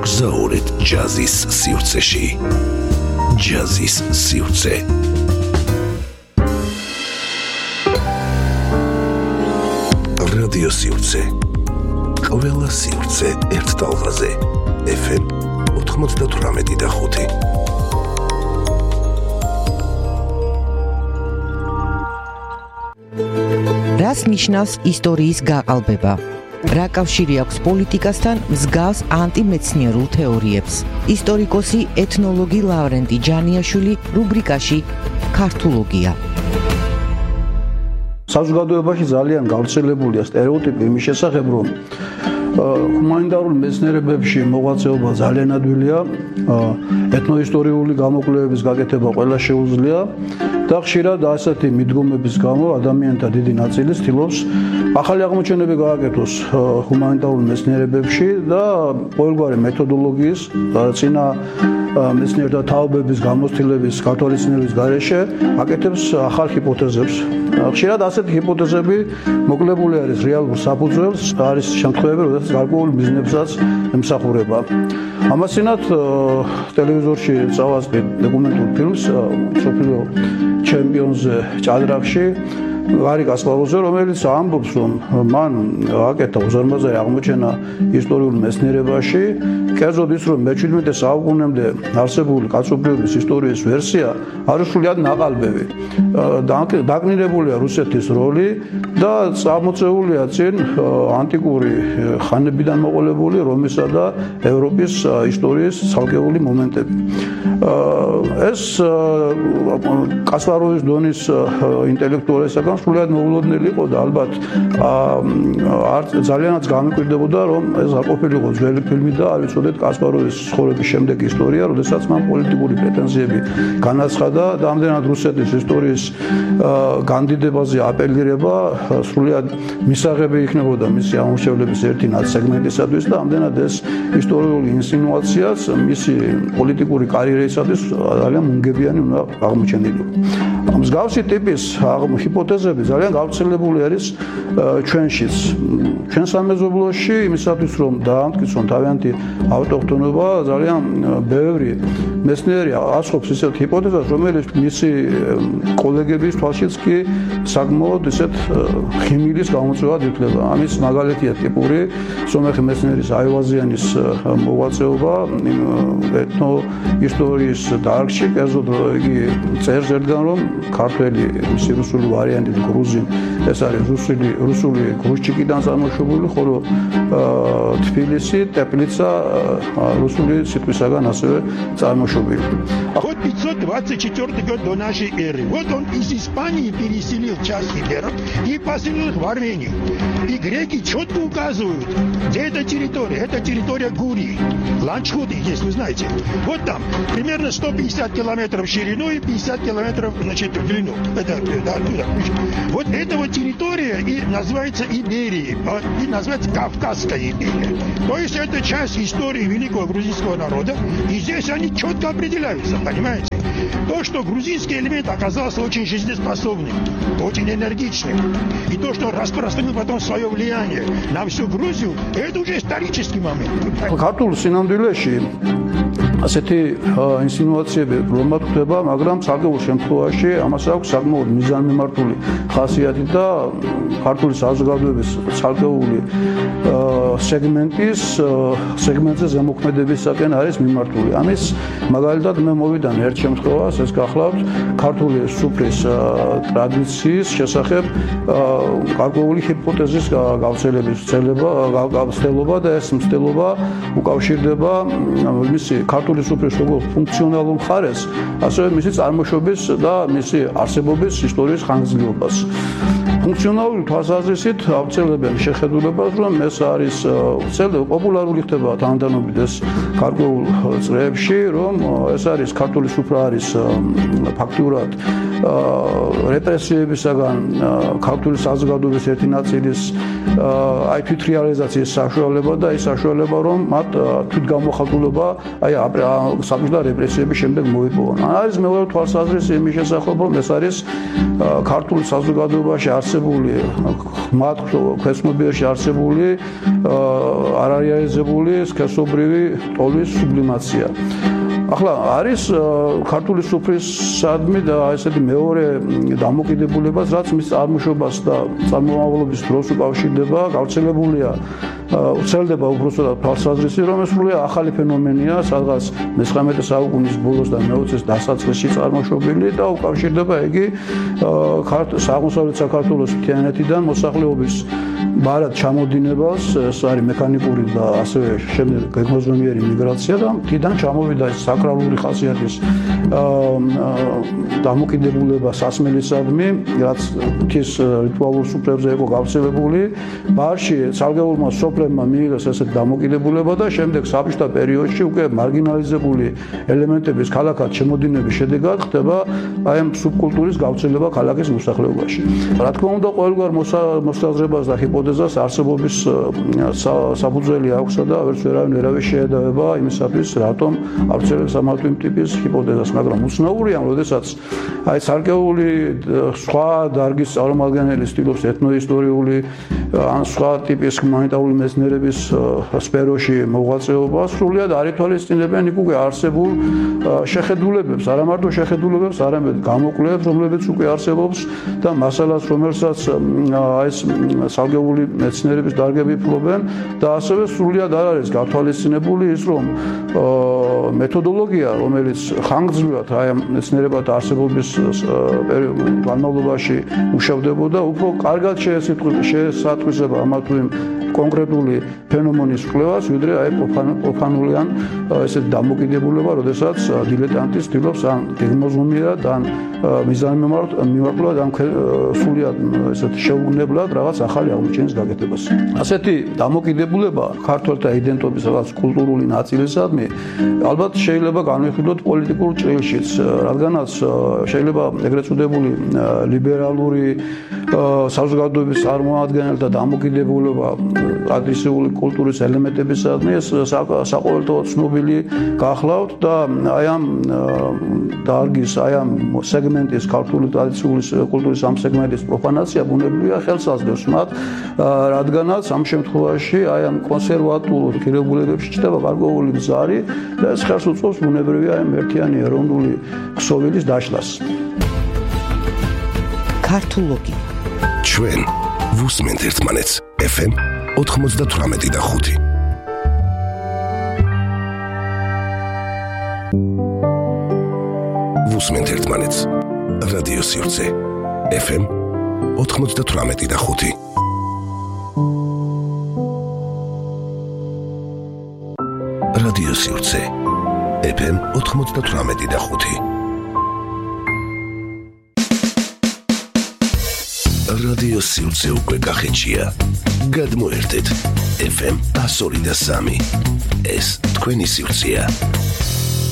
მოგზაურეთ ჯაზის სივრცეში. ჯაზის სივრცე. რადიო სივრცე. ყველა სივრცე ერთ ტალღაზე. FM 98.5. რას ნიშნავს ისტორიის გაყალბება? რა კავშირი აქვს პოლიტიკასთან მსგავს ანტიმეცნიერულ თეორიებს? ისტორიკოსი ეთნოლოგი ლავრენტი ჯანიაშვილი რუბრიკაში ქართულოგია. საზოგადოებაში ძალიან გავრცელებულია სტერეოტიპი იმის შესახებ, რომ ჰუმანიტარულ მეცნიერებებში მოღვაწეობა ძალიან ადვილია, ეთნოისტორიული გამოკვლევების გაკეთება ყველა შეუძლია და ხშირად ასეთი მიდგომების გამო ადამიანთა დიდი ნაწილი ცდილობს ახალი აღმოჩენები გააკეთოს ჰუმანიტარულ მეცნიერებებში და ყოველგვარი მეთოდოლოგიის წინა მეცნიერთა თაობების გამოცდილების გათვალისწინების გარეშე აკეთებს ახალ ჰიპოთეზებს. ხშირად ასეთი ჰიპოთეზები მოკლებული არის რეალურ საფუძველს, არის შემთხვევები, როდესაც გარკვეულ მიზნებსაც ემსახურება. ამასთანავ ტელევიზორში წავასწრე დოკუმენტურ ფილმს სოფლიო ჩემპიონზე ჭადრაკში გარი კასპაროვზე, რომელიც ამბობს, რომ მან აკეთა უზარმაზარი აღმოჩენა ისტორიულ მეცნიერებაში, კერძოდ ის, რომ მე-17 საუკუნემდე არსებული კაცობრიობის ისტორიის ვერსია არის სრულიად ნაყალბები. დაკნინებულია რუსეთის როლი და წამოწეულია წინ ანტიკური ხანებიდან მოყოლებული რომისა და ევროპის ისტორიის ცალკეული მომენტები. ეს კასპაროვის დონის ინტელექტუალისგან სრულიად მოულოდნელი იყო და ალბათ ძალიანაც გამიკვირდებოდა, რომ ეს არ ყოფილიყო ძველი ფილმი და არ ვიცოდეთ კასპაროვის ცხოვრების შემდეგი ისტორია, როდესაც მან პოლიტიკური პრეტენზიები განაცხადა და ამდენად რუსეთის ისტორიის განდიდებაზე აპელირება სრულიად მისაღები იქნებოდა მისი ამორჩევლების ერთი სეგმენტისათვის და ამდენად ეს ისტორიული ინსინუაციაც მისი პოლიტიკური კარიერისათვის ძალიან მუნგებიანი უნდა აღმოჩენილიყო. მსგავსი ტიპის ჰიპოთეზები ძალიან გავრცელებული არის ჩვენშიც. ჩვენ სამეზობლოში იმისათვის, რომ დაამტკიცონ თავიანთი ავტოქთონობა, ძალიან ბევრი მეცნიერი ასხობს ისეთ ჰიპოთეზას, რომელიც მისი კოლეგების თვალშიც კი საკმაოდ ისეთ ხიმილის გამოწვევად ითვლება. ამის მაგალითია ტიპური სომეხი მეცნიერის აივაზიანის მოღვაწეობა ეთნო ისტორიის დარგში, კერძოდ იგი წერს ერთგან, რომ ქართველი მისი რუსული ვარიანტი გრუზინ, ეს არის რუსული გრუშჩიკიდან წარმოშობილი, ხოლო თბილისი, ტეპლიცა რუსული ситвისაგან ასევე წარმოშობილი. Вот 524 год до нашей эры. Вот он из Испании переселил часть гитлеров и поселил их в Армении. И греки четко указывают, где эта территория. Это территория Гурии. Ланчхуды есть, вы знаете. Вот там примерно 150 километров в ширину и 50 километров, значит, в длину. Это оттуда. Вот эта вот территория и называется Иберией, и называется Кавказская империя. То есть это часть истории великого грузинского народа, и здесь они четко определяются, понимаете? То, что грузинский элемент оказался очень жизнеспособным, очень энергичным, и то, что распространил потом свое влияние на всю Грузию, это уже исторический момент. ქართულ სინამდვილეში ასეთი ინსინუაციები რომად ხდება, მაგრამ საკმაოდ შემთხვევაში ამას აქვს საკმაოდ მიზანმიმართული ხასიათი და ქართული საზოგადოების ცალკეული სეგმენტზე ზემოქმედებისაკენ არის მიმართული. ამის მაგალითად მე მოვიდან ერთ შემთხვევას, ეს გახლავთ ქართული სუფრის ტრადიციის შესახებ გარკვეული ჰიპოთეზის გავრცელების ცდელობა და ეს მცდელობა უკავშირდება მისი ქართული სუფრის როგორც ფუნქციონალურ მხარეს, ასევე მისი წარმოშობის და მისი არსებობის ისტორიის ხანგრძლივობას. ფუნქციონალური თვალსაზრისით ავრცელებენ შეხედულებას, რომ ეს არის პოპულარული ხდება თანდათანობით ეს გარკვეულ წრეებში, რომ ეს არის ქართული სუფრა არის ფაქტურად რეპრესიებისაგან ქართული საზოგადოების ერთი ნაწილის თვითრეალიზაციის საშუალება და ის საშუალება, რომ მათ თვითგამოხატულობა საბჭოთა რეპრესიების შემდეგ მოიპოვონ. არის მეორე თვალსაზრისი იმის შესახებ, რომ ეს არის ქართული საზოგადოებაში არსებული მათ ქვეცნობიერში არსებული არარეალიზებული სქესობრივი ტოლის სუბლიმაცია. ახლა არის ქართული სუფრისადმი და ესეთი მეორე დამოკიდებულებას, რაც მის წარმოშობას და წარმომავლობის დროს უკავშირდება, გავრცელებულია ვრცელდება უბრალოდ თვალსაზრისი, რომ ეს სრულიად ახალი ფენომენია, სადღაც მე-19 საუკუნის ბოლოს და მე-20-ის დასაწყისში წარმოშობილი და უკავშირდება იგი აღმოსავლეთ საქართველოს მთიანეთიდან მოსახლეობის ბარად ჩამოდინებას, ეს არის მექანიკური და ასევე შემდეგ გეგმოზომიერი მიგრაცია და მთიდან ჩამოვიდა ეს საკრალური ხასიათის დამოკიდებულება სასმელისადმი, რაც მთის რიტუალურ სუფრებზე იყო გავრცელებული. ბარში ცალკეულმა სოფლებმა მიიღეს ესეთ დამოკიდებულება და შემდეგ საბჭოთა პერიოდში უკვე მარგინალიზებული ელემენტების ქალაქად შემოდინების შედეგად ხდება აი ამ სუბკულტურის გავრცელება ქალაქის მოსახლეობაში. რა თქმა უნდა, ყოველგვარ მოსაზრებას და ჰიპოთეზას არსებობის საფუძველი აქვსა და ვერავინ შეედავება იმისათვის, რატომ ავრცელებს ამ ტიპის ჰიპოთეზას, მაგრამ უცნაურია, როდესაც აი ცალკეული სხვა დარგის წარმომადგენელი ცდილობს ეთნოისტორიული ან სხვა ტიპის ჰუმანიტარული მეცნიერების სფეროში მოღვაწეობას, სრულიად არ ითვალისწინებენ იქ უკვე არსებულ შეხედულებებს, არა მარტო შეხედულებებს, არამედ გამოკვლევებს, რომლებიც უკვე არსებობს და მასალას, რომელსაც ეს ცალკეული მეცნიერების დარგები ფლობენ და ასევე სრულიად არ არის გათვალისწინებული ის, რომ მეთოდოლოგია, რომელიც ხანგრძლივად აი ამ მეცნიერებათა არსებობის განმავლობაში მუშავდებოდა, უფრო კარგად შეესატყვისება ამა თუ იმ კონკრეტული ფენომენის კვლევას, ვიდრე აი პროფანული ან ესეთ დამოკიდებულება, როდესაც დილეტანტი ცდილობს ან გეგმოზომიერად, ან მიზანმიმართულად, ან სრულიად ესეთ შეუგნებლად რაღაც ახალი აღმოჩენის გაკეთებას. ასეთი დამოკიდებულება ქართველთა იდენტობის რაღაც კულტურული ნაწილისადმი ალბათ შეიძლება განვიხილოთ პოლიტიკურ ჭრილშიც, რადგანაც შეიძლება ეგრეთ წოდებული ლიბერალური საზოგადოების წარმომადგენელთა დამოკიდებულება ტრადიციული კულტურის ელემენტებისადმი ეს საყოველთაოდ ცნობილი გახლავთ და აი ამ დარგის, აი ამ სეგმენტის ქართული ტრადიციული კულტურის ამ სეგმენტის პროფანაცია ბუნებრივია ხელს აძლევს მათ, რადგანაც ამ შემთხვევაში აი ამ კონსერვატულ ღირებულებებში ჩნდება გარკვეული ბზარი და ეს ხელს უწყობს ბუნებრივია აი ერთიანი ეროვნული ქსოვილის დაშლას. ქართულოგი ჩვენ ვუსმენთ ერთმანეთს FM 98.5 ვუსმენთ ერთმანეთს რადიო სივრცე FM 98.5 რადიო სივრცე FM 98.5 რადიო სივრცე უკვე გახეჩია. გადმოერთეთ FM 102.3. ეს თქვენი სივრცეა.